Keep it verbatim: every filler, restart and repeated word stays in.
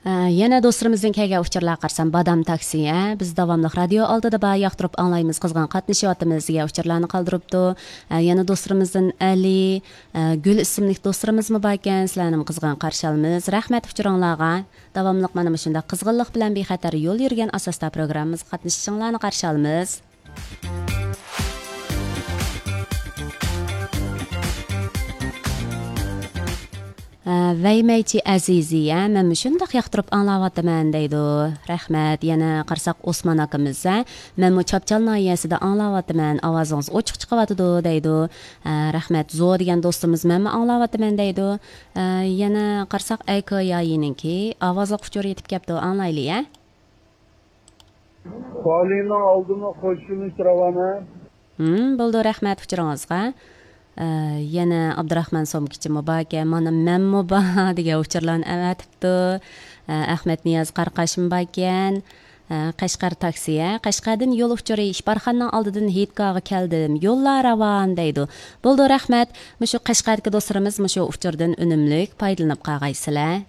ئە، يەنە دوستلىرىمىزدىن كەلگەن ئۇچۇرلارغا قارىسام، بادام تاكسى، ھە، بىز داۋاملىق رادىيو ئالدىدا بار، ياقتۇرۇپ ئاڭلايمىز، قىزغىن قاتنىشىۋاتىمىز دېگەن ئۇچۇرلارنى قالدۇرۇپتۇ. ئە، يەنە دوستلىرىمىزدىن ئەلى، ئە، گۈل ئىسىملىك دوستلىرىمىزمۇ باركەن، سىلەرنىمۇ قىزغىن قارشى ئالىمىز. رەھمەت ئۇچۇرۇڭلارغا. داۋاملىق مانا مۇشۇنداق قىزغىنلىق بىلەن بىخەتەر يول يۈرگەن ئاساستا پروگراممىمىزغا قاتنىشىشىڭلارنى قارشى ئالىمىز. ھە، ۋەيمەيچى ئەزىزى، ھە، مەن مۇشۇنداق ياقتۇرۇپ ئاڭلاۋاتىمەن دەيدۇ. رەھمەت. يەنە قارىساق ئوسمان ئاكىمىز، ھە، مەنمۇ چاپچال ناھىيەسىدە ئاڭلاۋاتىمەن، ئاۋازىڭىز ئوچۇق چىقىۋاتىدۇ دەيدۇ. ھە، رەھمەت. زو دېگەن دوستىمىز مەنمۇ ئاڭلاۋاتىمەن دەيدۇ. ھە، يەنە قارىساق ئەيكو يايىنىڭكى ئاۋازلىق ئۇچۇر يېتىپ كەپتۇ، ئاڭلايلى، ھە. خالىنىڭ ئالدىنى قوشۇۋېلىش راۋانە. ھىم، بولدى، رەھمەت ئۇچۇرىڭىزغا. ئە، يەنە ئابدۇراخمان سومكىچىمۇ باركەن، مانا مەنمۇ بار دېگەن ئۇچۇرلارنى ئەۋەتىپتۇ. ئە، ئەخمەت نىياز قاراقاشمۇ باركەن. ئە، قەشقەر تاكسى، ھە، قەشقەردىن يول ئۇچۇرى، ئىپارخانىنىڭ ئالدىدىن ھېيتگاھقا كەلدىم، يوللار راۋان دەيدۇ. بولدى، رەھمەت. مۇشۇ قەشقەردىكى دوستلىرىمىز مۇشۇ ئۇچۇردىن ئۈنۈملۈك پايدىلىنىپ قالغايسىلەر.